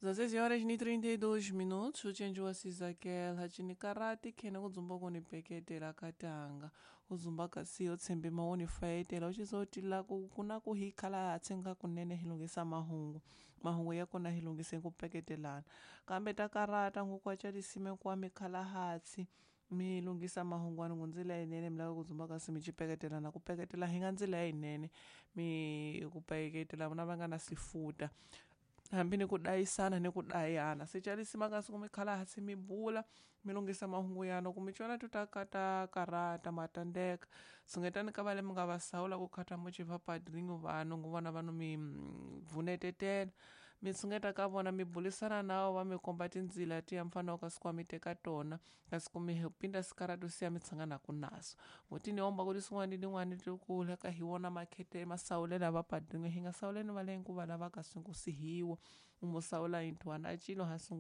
16 horas ni 32 minutos, uchenjiwa sizakela chinikarati khene kudzumba kunipeketela katanga kuzumba kasiyo tshembe maoni faetela uchizotila kuna kuhikhala hatsi kunene hilungisa mahungu mahungu ya kona hilungise kupeketelana kambe takarata ngukwacha kwa mikhala hatsi mi lunghisa mahungu wani ndzila yinene mi lava ku dzumba kasi mi cipeketelana ku peketela hi nga ndzila yinene mi ku peketela vona va nga na sifuta hambi ni ku dayisana ni ku dayana se ca lisima kasi ku mi khala hansi mi bula mi lunghisa mahungu yana ku mi cona tu ta ka ta karata ma tandeka tshungetani ka vale mi nga va sawula ku khata muci va padrinho vanhu ngu vona vanhu mi vunetetela mi tshungeta ka vona mi bulisana na va mi komba tindzila tiya mi fanele kasi ku mi teka tona kasi ku mi pinda sikaratu siya mi tshanganaku naso ngoti ni omba ku tin'wana tin'wana ti kula ka hi wona makhete masawulela va padrinho hi nga sawuleni va le ku va lava kasi ku sihiwa u mu sawula yintwana a cilo hansi.